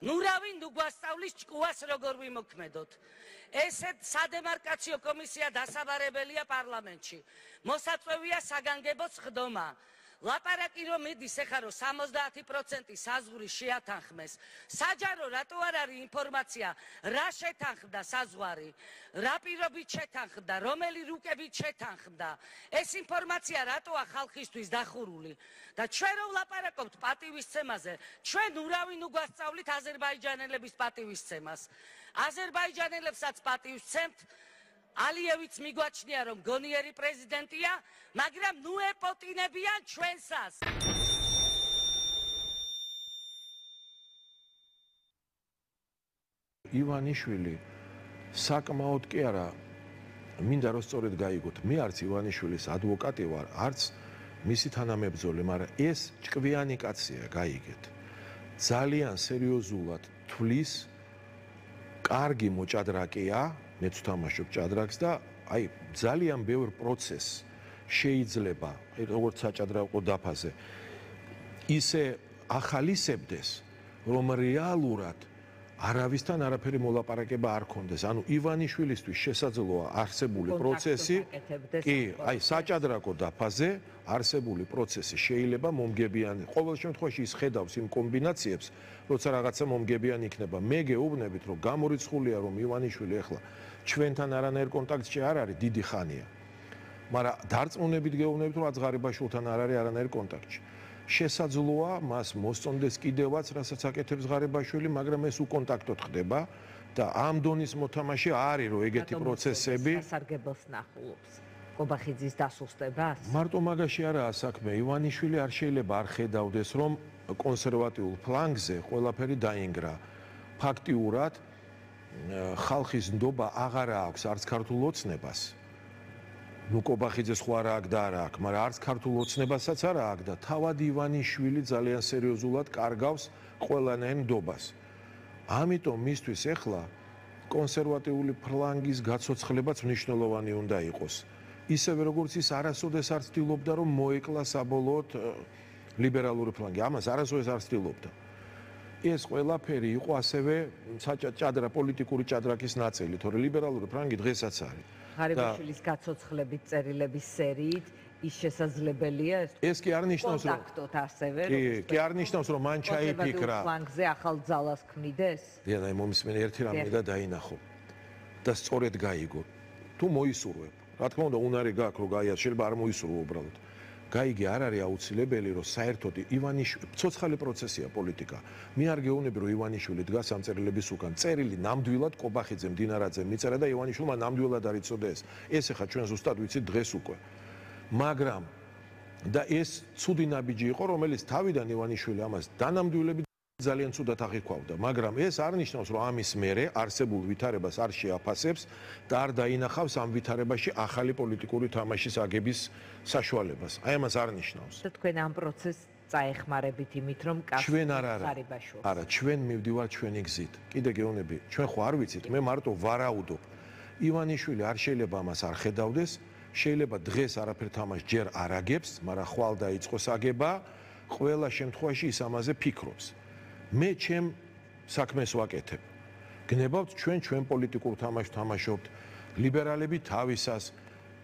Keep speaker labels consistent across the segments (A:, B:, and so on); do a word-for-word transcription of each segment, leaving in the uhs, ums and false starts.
A: ნურავი ნუ გვასწავლის ჭკუას როგორ ვიმოქმედოთ. ესეთ სადემარკაციო კომისია დასაბარებელია პარლამენტში. მოსაწვევია საგანგებო სხდომა. ლაპარაკი რომ მიდის ეხლა რომ სამოცდაათი პროცენტი საზღვრის შეათანხმეს. საჯარო რატო არ არის ინფორმაცია რა შეთანხმდა საზღვარი, რა პირობით შეთანხმდა, რომელი რუკებით შეთანხმდა. ეს ინფორმაცია რატოა ხალხისთვის დახურული და ჩვენ რომ ვლაპარაკობთ პატივისცემაზე, ჩვენ ურავი ნუ გვასწავლით აზერბაიჯანელების პატივისცემას. აზერბაიჯანელებსაც პატივისცემთ. ალიევიც მიგვაჩნია რომ გონიერი პრეზიდენტია, მაგრამ ნუ ეპოტინებიან ჩვენსას.
B: ივანიშვილი საკმაოდ კი არა, მინდა რომ სწორედ გაიგოთ, მე არც ივანიშვილის ადვოკატი ვარ, არც მისი თანამებრძოლი, მაგრამ ეს ჭკვიანი კაცია, გაიგეთ. ძალიან სერიოზულად თვლის, კარგი მოჭადრაკეა, მეც ვთამაშობ ჭადრაკს და აი ძალიან ბევრ პროცესს შეიძლება, აი როგორც საჭადრაკო დაფაზე, ისე ახალისებდეს, რომ რეალურად არავისთან არაფერი მოლაპარაკება არ ქონდეს. ანუ ივანიშვილისთვის შესაძლოა არსებული პროცესი, კი, აი საჭადრაკო დაფაზე არსებული პროცესი შეიძლება მომგებიანი. ყოველ შემთხვევაში ის ხედავს იმ კომბინაციებს, როცა რაღაცა მომგებიანი იქნება. მე გეუბნებით, რომ გამორიცხულია, რომ ივანიშვილი ახლა ჩვენთან არანაირ კონტაქტში არ არის დიდი ხანია. მაგრამ დარწმუნებით გეუბნებით, რომ აძღარიბაშვილთან არ არის არანაირ კონტაქტში. შესაძლოა მას მოსწონდეს კიდევაც, რასაც აკეთებს ღარიბაშვილი, მაგრამ ეს უკონტაქტოდ ხდება და ამ დონის მოთამაშე არის, რომ ეგეთი პროცესები
C: სასარგებლოს ნახულობს. კობახიძის დასუსტებას?
B: მარტო მაგაში არაა საქმე. ივანიშვილი არ შეიძლება არ ხედავდეს, რომ კონსერვატიულ ფლანგზე ყველაფერი დაინგრა. ფაქტიურად ხალხის ნდობა აღარ აქვს არც ქართულ ოცნებას. ნუ კობახიძეს ხო არა აქვს და არა აქვს, მაგრამ არც ქართულ ოცნებასაც არა აქვს და თავად ივანიშვილი ძალიან სერიოზულად კარგავს ყველანაირ ნდობას. ამიტომ მისთვის ახლა კონსერვატიული ფლანგის გაცოცხლებაც მნიშვნელოვანი უნდა იყოს. ისევე როგორც ის არასოდეს არ ცდილობდა რომ მოეკლა საბოლოოდ ლიბერალური ფლანგი. ამას არასოდეს არ ცდილობდა. ეს ყველაფერი იყო ასევე საჭადრა პოლიტიკური ჭადრაკის ნაწილი, თორე ლიბერალური ფლანგი დღესაც არის.
C: ღარიბაშვილის გაცოცხლებით წერილების სერიით ის შესაძლებელია ეს
B: ეს კი არ ნიშნავს რომ
C: კონტაქტოთ ასევე
B: კი კი არ ნიშნავს რომ მან ჩაიფიქრა
C: ფლანგზე ახალ ძალას ქმნიდეს.
B: დიახ, მომისმენ ერთი რამე და დაინახო და სწორედ გაიგო. თუ მოისურვებ, რა თქმა უნდა, უნარი გაქვს რომ გაიას, შეიძლება არ მოისურვო უბრალოდ. გაიგე არ არის აუცილებელი რომ საერთოდ ივანიშვილი ცოცხალი პროცესია პოლიტიკა. მე არ გეუბნები რომ ივანიშვილი დგას ამ წერილების უკან. წერილი ნამდვილად კობახიძემ, დინარაძემ მიწერა და ივანიშვილმა ნამდვილად არ იცოდა ეს. ეს ახლა ჩვენ ზუსტად ვიცით დღეს უკვე. მაგრამ და ეს ცუდი ნაბიჯი იყო, რომელიც თავიდან ივანიშვილი ამას დანამდვილებით ძალიან ცუდად აღიქვავდა, მაგრამ ეს არ ნიშნავს, რომ ამის მერე არსებულ ვითარებას არ შეაფასებს და არ დაინახავს ამ ვითარებაში ახალი პოლიტიკური თამაშის აგების საშუალებას. აი ამას არ ნიშნავს.
C: თქვენ ამ პროცესს წაეხმარებით იმით, რომ
B: ჩვენ არ არა. არა, ჩვენ მივდივართ ჩვენი გზით. კიდე გეუბნები, ჩვენ ხო არ ვიცით, მე მარტო ვარაუდობ. ივანიშვილი არ შეიძლება ამას არ ხედავდეს, შეიძლება დღეს არაფერ თამაშს ჯერ არ აგებს, მაგრამ ხვალ დაიწყოს აგება, ყველა შემთხვევაში ის ამაზე ფიქრობს. მე ჩემ საქმეს ვაკეთებ. გნებავთ ჩვენ ჩვენ პოლიტიკურ თამაშს თამაშობთ, ლიბერალები თავისას,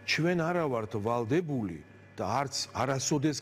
B: ჩვენ არა ვართ ვალდებული და არც არასოდეს